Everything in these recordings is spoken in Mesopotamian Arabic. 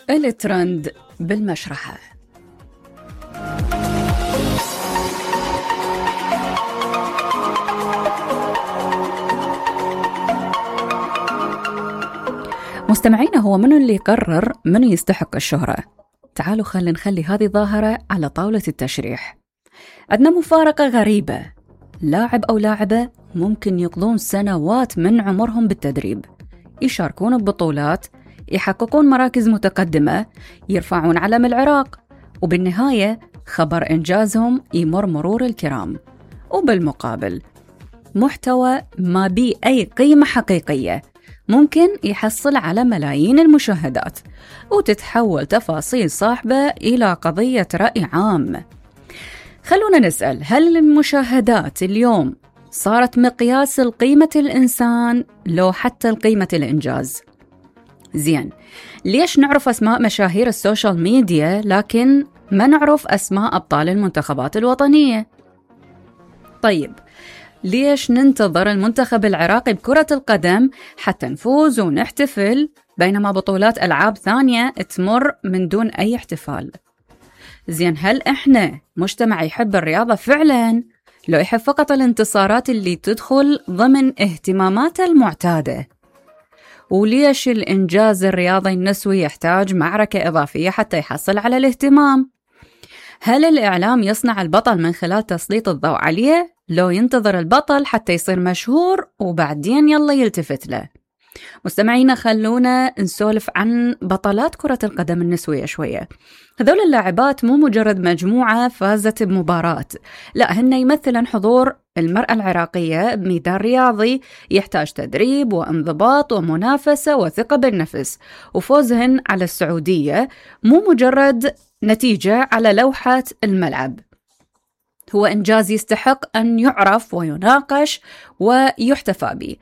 الترند بالمشرحة. مستمعينا، هو منو اللي يقرر منو يستحق الشهرة؟ تعالوا نخلي هذه ظاهرة على طاولة التشريح. عندنا مفارقة غريبة، لاعب أو لاعبة ممكن يقضون سنوات من عمرهم بالتدريب، يشاركون ببطولات، يحققون مراكز متقدمة، يرفعون علم العراق، وبالنهاية خبر إنجازهم يمر مرور الكرام. وبالمقابل محتوى ما بيه أي قيمة حقيقية ممكن يحصل على ملايين المشاهدات، وتتحول تفاصيل صاحبة إلى قضية رأي عام. خلونا نسأل، هل المشاهدات اليوم صارت مقياس لقيمة الإنسان لو حتى لقيمة الإنجاز؟ زين، ليش نعرف أسماء مشاهير السوشيال ميديا لكن ما نعرف أسماء أبطال المنتخبات الوطنية؟ طيب، ليش ننتظر المنتخب العراقي بكرة القدم حتى نفوز ونحتفل، بينما بطولات ألعاب ثانية تمر من دون أي احتفال؟ زين، هل إحنا مجتمع يحب الرياضة فعلاً، لو يحب فقط الانتصارات اللي تدخل ضمن اهتماماته المعتادة؟ وليش الإنجاز الرياضي النسوي يحتاج معركة إضافية حتى يحصل على الاهتمام؟ هل الإعلام يصنع البطل من خلال تسليط الضوء عليه، لو ينتظر البطل حتى يصير مشهور وبعدين يلا يلتفت له؟ مستمعينا، خلونا نسولف عن بطلات كرة القدم النسوية شوية. هذول اللاعبات مو مجرد مجموعة فازت بمباراة، لا، هن يمثلن حضور المرأة العراقية بميدان رياضي يحتاج تدريب وانضباط ومنافسة وثقة بالنفس، وفوزهن على السعودية مو مجرد نتيجة على لوحة الملعب، هو إنجاز يستحق أن يعرف ويناقش ويحتفى به.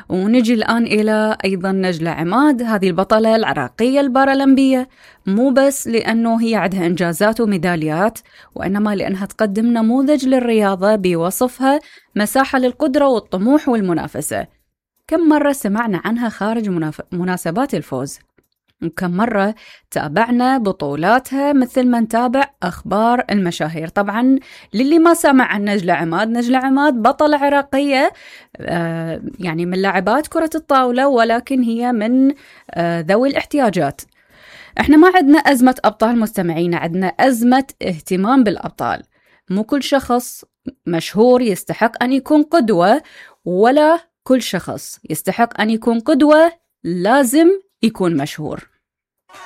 ونجي الآن إلى أيضا نجلة عماد، هذه البطلة العراقية البارالمبية، مو بس لأنه هي عندها إنجازات وميداليات، وإنما لأنها تقدم نموذج للرياضة بوصفها مساحة للقدرة والطموح والمنافسة. كم مرة سمعنا عنها خارج مناسبات الفوز، وكم مرة تابعنا بطولاتها مثل ما نتابع أخبار المشاهير. طبعا للي ما سمع عن نجلة عماد بطلة عراقية، يعني من لاعبات كرة الطاولة، ولكن هي من ذوي الاحتياجات. احنا ما عندنا أزمة أبطال مستمعين، عندنا أزمة اهتمام بالأبطال. مو كل شخص مشهور يستحق أن يكون قدوة، ولا كل شخص يستحق أن يكون قدوة لازم يكون مشهور.